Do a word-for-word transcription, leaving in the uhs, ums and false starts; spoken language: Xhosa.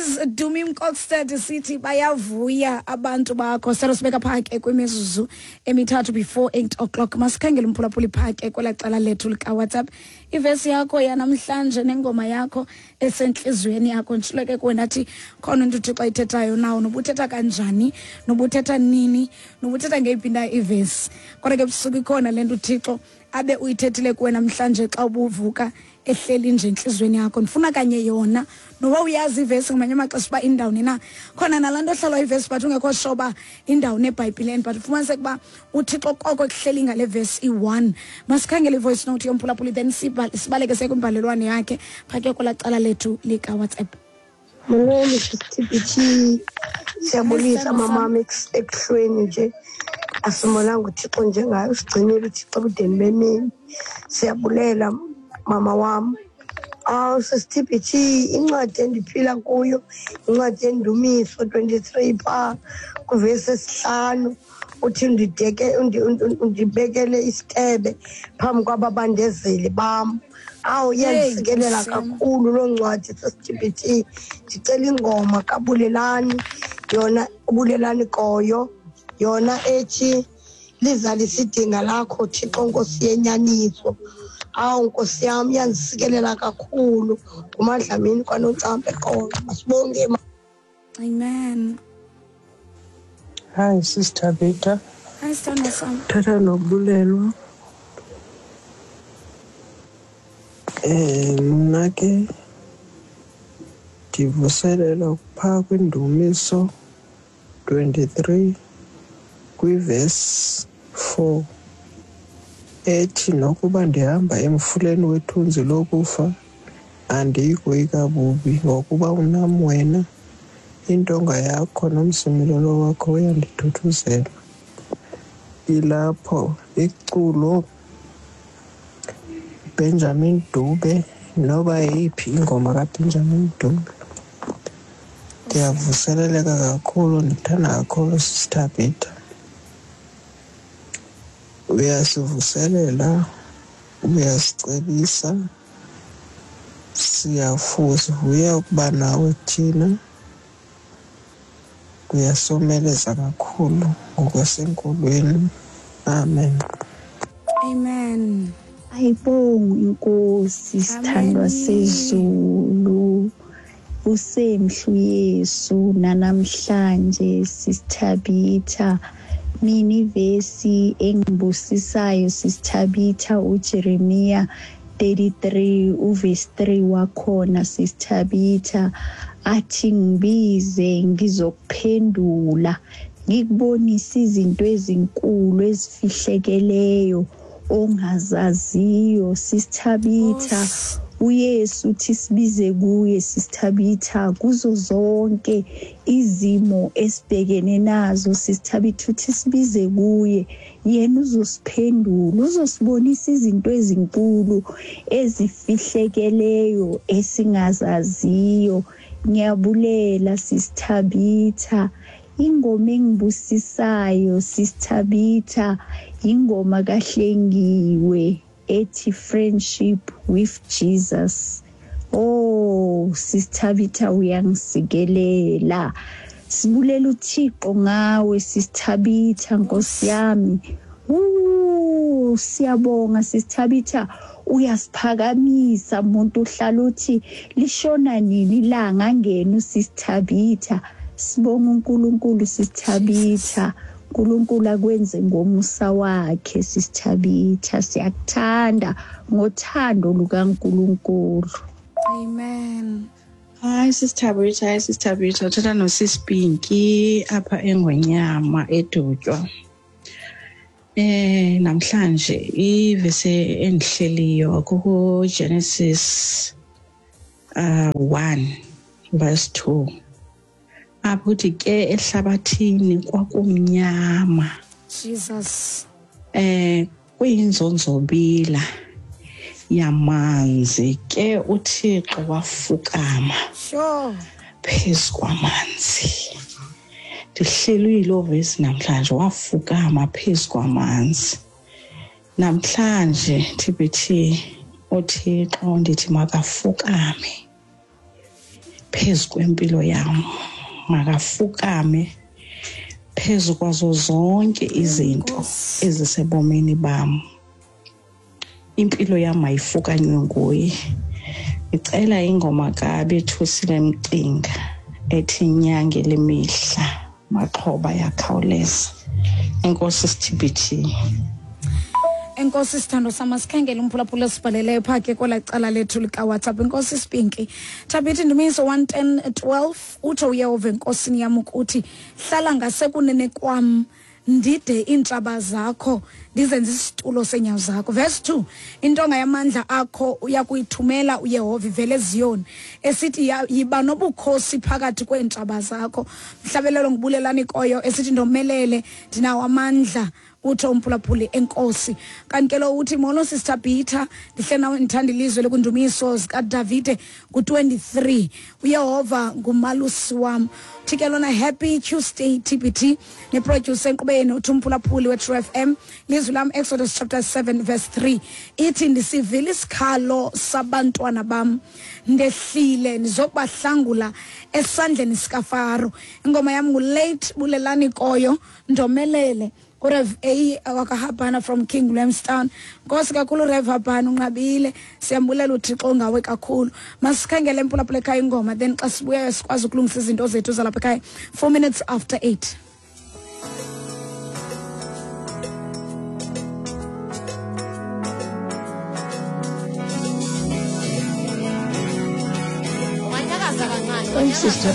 Praise Dumi Mkokstad, sithi bayavuya abantu bakho. Selo sibeka phake kwimizuzu emithathu before eight o'clock. Masikhangele umphulaphuli phake kwelaa cala lethu likaWhatsApp. Ivesi yakho yanamhlanje nengoma yakho esentliziyweni yakho. Nditshilo ke kuwe ndathi khona into uThixo ayithethayo nawo, nobuthetha kanjani, nobuthetha nini, nobuthetha ngeyiphi na ivesi, kodwa ke busuku ikhona le nto uThixo abe uyithethile kuwe namhlanje xa ubuvuka, ehleli nje entliziyweni yakho. Ndifuna kanye yona, noba uyazi ivesi ngamanye amaxesha uba indawuni na khona nalaa nto ohlalwa ivesi, but ungekho sure uba indawuni ebhayibhileni, but ufumaniseke uba uThixo koko kuhleli ngale vesi iyi-one. Masikhangele i-voice note yomphulaphuli, then sibaleke siye kwimbalelwano yakhe phake kwelaa cala lethu likaWhatsApp. Molweni T B T, siyabulisa mamam ekuhlweni nje. Asimonanga uThixo njengayo, usigcinile uThixo ebudeni bemini. Siyabulela mama wam. Awu sisi T B T, incwadi endiphila kuyo incwadi yendumiso twenty-three phaa kwivesi esihlanu, uthi ndideke undibekele isitebe phambi kwababandezeli bam. Awu, iyandisikelela kakhulu loo ncwadi sisi T B T. Ndicela ingoma kaBulelani, yona uBulelani Koyo, yona ethi lizalise idinga lakho Thixo Nkosi yenyaniso. Awu Nkosi yam, iyandisikelela kakhulu. NguMadlamini kwaNoncampa eQonce. Masibonge. Amen. Hi Sister Beta. Hi sithandwa sam. Thatha noBulelwa. Eh mna ke ndivuselela phaa kwindumiso twenty-three kwivesi four ethi nokuba ndihamba emfuleni wethunzi lokufa andiyi koyika bubi, ngokuba unam wena, intonga yakho nomsimilelo wakho uyandithuthuzela. Ilapho iculo Benjamin Dube, noba yeyiphi ingoma kaBenjamin Dube. Ndiyavuseleleka kakhulu, ndithanda kakhulu Sister Beta. Uyasivuselela, uyasicebisa, siyavuya ukuba nawe thina. Uyasomeleza kakhulu ngokwasenkolweni. Amen. Amen. Ayibongwe inkosi sithandwa sezulu. Usemhlu Yesu nanamhlanje sisithabitha. Mina ivesi engibusisayo sisithabitha uJeremiya thirty-three uverse three wakhona sisithabitha, athi ngibize ngizokuphendula, ngikubonisa izinto ezinkulu ezifihlekeleyo ongazaziyo. Sisithabitha uYesu uthi sibize kuye sisithabitha kuzo zonke izimo esibhekene nazo. Sisithabitha uthi sibize kuye, yena uzosiphendula, uzosibonisa izinto ezinkulu ezifihlekeleyo esingazaziyo. Ngiyabulela sisithabitha. Ingoma engibusisayo sisithabitha ingoma kaHlengiwe ethi Friendship with Jesus. Oh sisithabitha uyangisikelela. Sibulela uThixo ngawe sisithabitha Nkosi yami. Uh siyabonga sisithabitha, uyasiphakamisa umuntu uhlala uthi lishona nini ilanga angena usisithabitha. Sibonga uNkulunkulu sisithabitha. uNkulunkulu akwenze ngomusa wakhe sisithabitha. Siyakuthanda ngothando lukaNkulunkulu. Amen. Hi Sister Thabitha, hi Sister Thabitha. Uthetha noSisipinki apha eNgonyama eDutywa. Eh namhlanje ivesi endihleliyo kuku Genesis uh one verse two. Apho uthi ke ehlabathini kwakumnyama. Jesus. Eh kuyinzonzobila yamanzi ke uThixo wafukama. Sure. Phezu kwamanzi. Ndihleli yiloo vesi namhlanje, wafukama phezu kwamanzi. Namhlanje T B T uThixo ndithi makafukame phezu kwempilo yam, makafukame phezu kwazo zonke izinto ezisebomini bam. Impilo yam ayifukanywe nguye. Ndicela ingoma kaBethusile Mcinga ethi nyange lemihla maxhoba yakhawuleza. Enkosi T B T. Enkosi sithando sama, sikhangele umphulaphula esibhaleleyo phaa ke kwelaa cala lethu likaWhatsApp. Enkosi Spinki. Thabitha Ndumiso one ten twelve utsho uYehova enkosini yam ukuthi hlala ngasekunene kwam ndide iintshaba zakho ndizenze isitulo seenyawo zakho. Verse two, intonga yamandla akho uyakuyithumela uYehova ivele eZiyoni esithi yiba nobukhosi phakathi kweentshaba zakho. Mhlabelelo ngibulelani koyo esithi ndomelele ndinawo amandla, utsho umphulaphuli enkosi. Kanti ke lo uthi molo Sister Peter, ndihle nawe ndithanda ilizwe lekundumiso zikaDavide ku-twenty-three, uYehova ngumalusi wam. Uthi ke lona happy Tuesday T B T neproducer enkqubeni, uthi umphulaphuli we-True F M. Lizwi lam Exodus chapter seven verse three ithi ndisivile isikhalo sabantwana bam, ndehlile ndizokubahlangula esandleni sikaFaro. Ingoma yam ngulate Bulelani Koyo, ndomelele. Rev A wakaHabana from King Williamstown. Nkosi kakhulu Rev Habana, unqabile, siyambulela uThixo ngawe kakhulu. Masikhangele emphulaphula ekhaya ingoma, then xa sibuya sikwazi ukulungisa izinto zethu zalapha ekhaya. Four minutes after eight. Sister